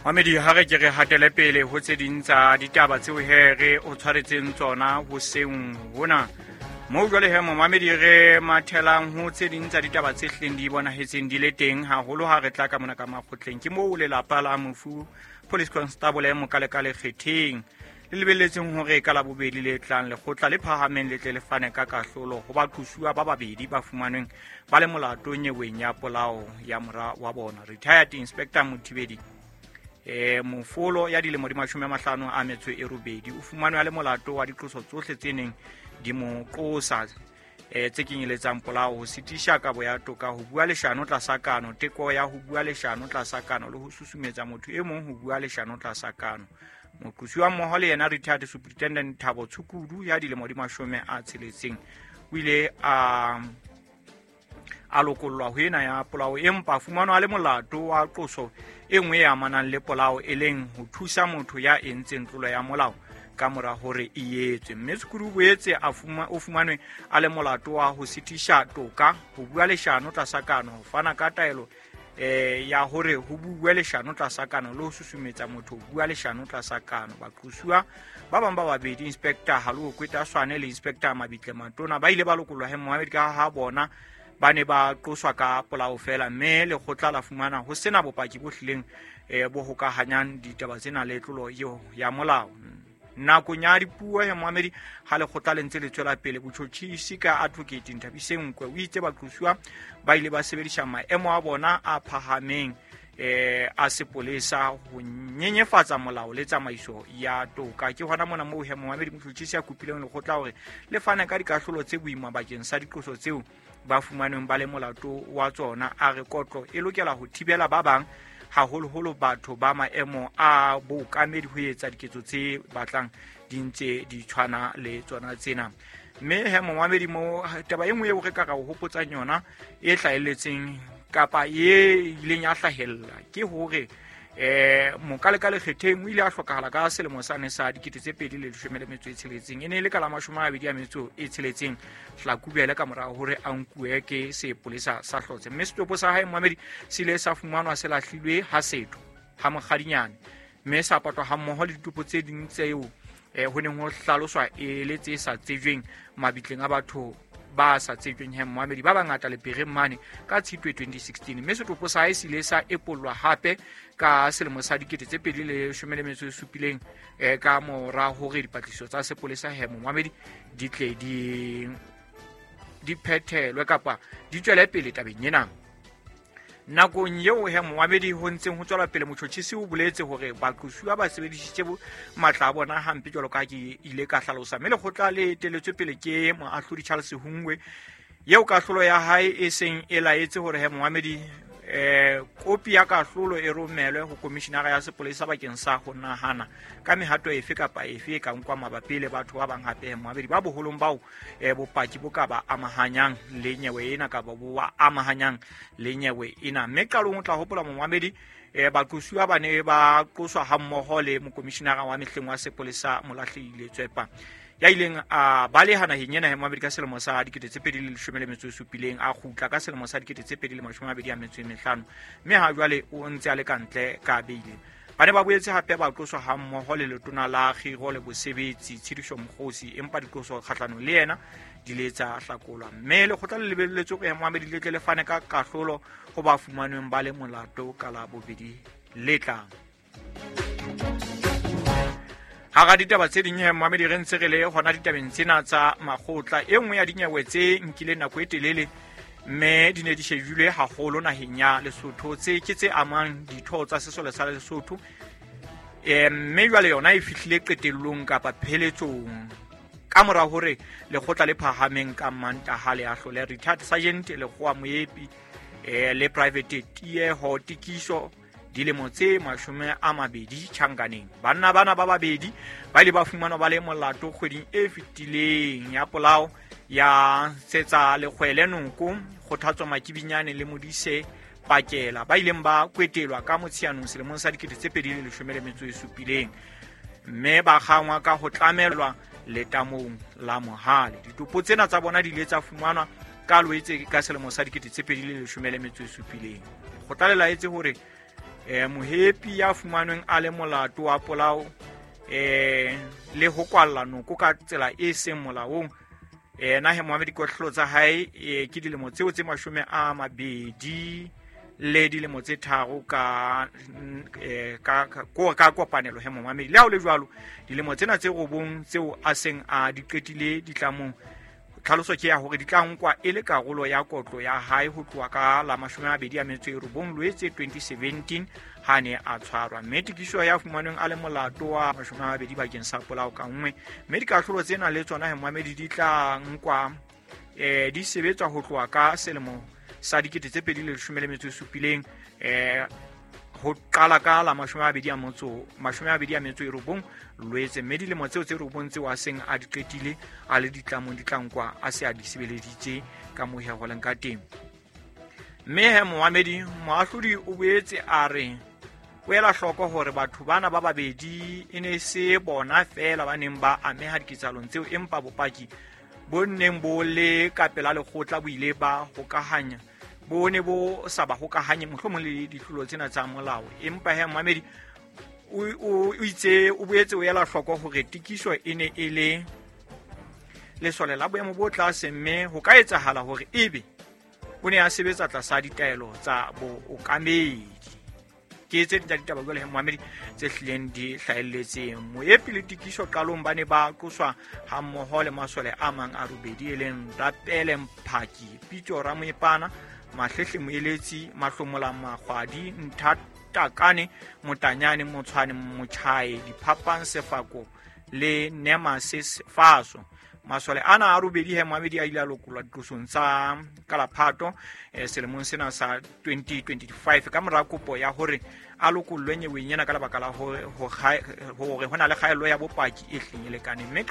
Mamedi, ha re ke re hatele pele ho tse ding tsa ditaba tseo he re o tshwaretseng tsona hoseng hona. Moo jwale he momamedi re mathelang ho tse ding tsa ditaba tse hlileng di bonahetseng di le teng haholo ha re tla ka mona ka makgotleng. Ke moo lelapa la mofu Police Constable Mokalekale Kgetheng le lebelletseng hore ka Labobedi le tlang lekgotla le phahameng le tle le fane ka kahlolo ho baqosuwa ba babedi ba fumanweng ba le molato nyeweng ya polao ya mora wa bona Retired Inspector Mothibedi Mofolo ya dilemo di 58 o fumanwe a le molato wa diqoso tsohle tse neng di mo qosa tse kenyeletsang polao, ho sitisha kabo ya toka, ho bua leshano tlasa kano, teko ya ho bua leshano tlasa kano le ho susumetsa motho e mong ho bua leshano tlasa kano. Moqosi wa mmoho le yena Retired Superintendent Thabo Tshukudu ya dilemo di 60 o ile a lokollwa ho ena ya polao, empa fumanwa a le molato wa qoso e nngwe e amanang le polao, e leng ho thusa motho ya entseng tlolo ya molao ka mora hore e etswe. Mme Tshukudu o boetse o fumanwe a le molato wa ho sitisha toka, ho bua leshano tlasa kano, ho fana ka taelo ya hore ho bue leshano tlasa kano le ho susumetsa motho ho bua leshano tlasa kano. Baqosuwa ba bang ba babedi, Inspector Haloe Kwetaswane le Inspector Mabitle Matona, ba ile ba lokollwa he Mohammed ka ha bona ba ne ba qoswa ka polao fela, mme lekgotla la fumana ho sena bopaki bo hlileng bo hokahanyang ditaba tsena le tlolo eo ya molao. Nakong ya dipuo ya Mohamedi ha lekgotla le ntse le tswela pele, botjhotjhisi ka Advocate Nthabiseng Nkwe o itse baqosuwa ba ile ba sebedisa maemo a bona a phahameng a sepolesa ho nyenyefatsa molao le tsamaiso ya toka. Ke hona mona moo he Mohamedi motjhotjhisi a kopileng lekgotla hore le fane ka dikahlolo tse boima bakeng sa diqoso tseo ba fumanweng ba le molato wa tsona. A re kotlo e lokela ho thibela ba bang, haholoholo batho ba maemo a bookamedi, ho etsa diketso tse batlang di ntse di tshwana le tsona tsena. Mme he momamedi, mo taba e nngwe eo re ka ra o hopotsang yona e hlahelletseng kapa e ileng ya hlahella ke hore Mokalekale Kgetheng o ile a hlokahala ka selemo sane sa 2016. E ne e le ka la 26 Hlakubele ka mora hore a nkuwe ke sepolesa sa Hlotse, mme setopo sa hae momamedi se ile sa fumanwa se lahlilwe ha setho ha Mokgadinyane, mme sa patwa hammoho le ditopo tse ding tseo ho neng ho hlaloswa e le tse sa tsejweng mabitleng a batho ba sa tsejweng he momamedi ba bangata Lepereng mane ka Tshitwe 2016. Mme setopo sa hae se ile sa epollwa hape ka selemo sa 2017 ka mora hore dipatlisiso tsa sepolesa he momamedi di tle di phethelwe kapa di tswele pele tabeng ena. Nakong eo he momamedi ho ntseng ho tswela pele, motjhotjhisi o boletse hore baqosuwa ba sebedisitse matla a bona hampe jwalo ka ha ke ile ka hlalosa. Mme lekgotla le eteletswe pele ke moahlodi Charles Hungwe, eo kahlolo ya hae e seng e laetse hore he momamedi kopi ya kahlolo e romelwe ho komishinara ya sepolesa bakeng sa ho nahana ka mehato efe kapa efe e ka nkwa mabapi le batho ba bang hape he momamedi ba boholong bao bopaki bo ka ba amahanyang le nyewe ena kapa bo ba amahanyang le nyewe ena. Mme qalong o tla hopola momamedi baqosuwa ba ne ba qoswa hammoho le mokomishinara wa mehleng wa sepolesa Molahlehile Tswepa, ya ileng a baleha naheng ena ya momamedi ka selemo sa 2017, a kgutla ka selemo sa 2025, mme ha jwale o ntse a le ka ntle ka beile. Ba ne ba boetse hape ba qoswa hammoho le letona la kgiro le bosebetsi Tshidiso Mokgosi, empa diqoso kgahlanong le yena di le tsa hlakolwa. Mme lekgotla le lebelletswe hore momamedi le tle le fane ka kahlolo ho ba fumanweng ba le molato ka Labobedi le tlang. Hara ditaba tse ding he momamedi re ntse re le hona ditabeng tsena tsa makgotla, e nngwe ya dinyewe tse nkileng nako e telele mme di ne di shejilwe haholo naheng ya Lesotho tse ke tse amang ditho tsa sesole sa Lesotho, mme jwale yona e fihlile qetellong kapa pheletsong ka mora hore lekgotla le phahameng ka Mantaha le ahlole Retired Sergeant Lekgowa Moepi le Private Tieho Tikiso dilemo tse 20 tjhankaneng. Banna bana ba babedi ba ile ba fumanwa ba le molato kgweding e fetileng ya polao ya Tsetsa Lekgwele Noko, Kgothatso Makibinyane le Modise Pakela, ba ileng ba kwetelwa ka Motsheanong selemong sa 2017, mme ba kgangwa ka ho tlamelwa letamong la Mohale. Ditopo tsena tsa bona di ile tsa fumanwa ka Loetse ka selemo sa 2017. Lekgotla le laetse hore Mohepi ya fumanweng a le molato wa polao le ho kwalla noko ka tsela e seng molaong, ena he moamedi dikohlolo tsa hae ke dilemo tseo tse 20 le dilemo tse 3 ka kopanelo he momamedi. Le ha ho le jwalo, dilemo tsena tse 9 tseo a seng a di qetile ditlamong, tlhaloso ke ya hore di tla nkwa e le karolo ya kotlo ya hae ho tloha ka la 29 Loetse 2017 ha ne a tshwarwa. Mme tikiso ya fumanweng a le molato wa 20 bakeng sa polao ka nngwe, mme dikahlolo tsena le tsona he momamedi di tla nkwa di sebetswa ho tloha ka selemo sa 2017 ho qala ka la 29 Loetse, mme dilemo tseo tse 9 tseo a seng a di qetile a le ditlamong di tla nkwa a se a di sebeleditse ka mohego leng ka teng. Mme he moamedi moahlodi o boetse a re o ela hloko hore batho bana ba babedi e ne se bona feela ba neng ba ameha diketsahalong tseo, empa bopaki bo neng bo le ka pela lekgotla bo ile ba hokahanya bo ne bo sa ba hokahanye mohlomong le ditlolo tsena tsa molao. Empa he moamedi o itse o boetse o ela hloko hore tikiso e ne e le lesole la boemo bo tlase, mme ho ka etsahala hore ebe o ne a sebetsa tlasa ditaelo tsa bookamedi. Ke tse ding tsa ditaba jwale he moamedi tse hlileng di hlahelletseng. Moepi le Tikiso qalong ba ne ba qoswa hammoho le masole a mang a 8 e leng Rapele Mphaki, Pitso Ramoepana, Mahlehle Moeletsi, Mahlomola Makgwadi, Nthatakane Motanyane, Motshwane Motjhae, Diphapang Sefako le Nemase Faso. Masole ana a 8 he moamedi a ile a lokollwa diqosong tsa Kalaphato selemong sena sa 2025 ka mora kopo ya hore a lokollwe nyeweng ena ka lebaka la hore ho na le kgaello ya bopaki e hleng e lekaneng. Mme